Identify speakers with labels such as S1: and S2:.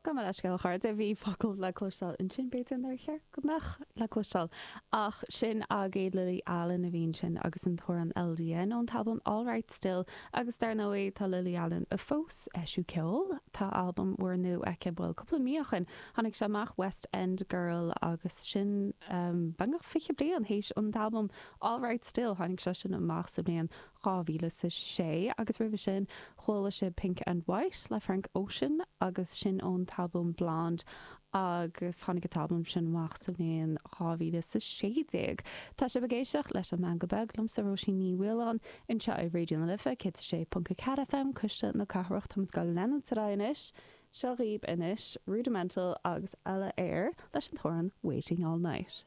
S1: Gabh mo leithscéal a chairde, bhí focal le cloisteáil ansin, b'fhéidir nár cheart go mbeadh le cloisteáil, ach sin agaibh Lily Allen a bhí ansin agus an t-amhrán LDN ón t-albam All Right Still agus dar ndóigh tá Lily Allen fós ag eisiú ceoil, tá albam úr nua aici, bhuel cúpla mí ó shin tháinig sé amach, West End Girl agus sin beagnach 20 bliain théis an t-albam All Right Still, tháinig sé sin amach sa bhliain 2006 agus roimhe sin chuala sibh Pink and White le Frank Ocean agus sin ón t-albam Blonde agus tháinig an t-albam sin amach sa bhliain 2016. Tá sibh ag éisteacht leis an Meangadh Beag liomsa Róisín Ní Mhaoláin anseo ar Raidió na Life 106.4 FM, Cuisle na Cathrach. Táimid ag leanúint ar aghaidh anois. Seo dhaoibh anois Rudimental agus Ella Eyre leis an t-amhrán Waiting All Night.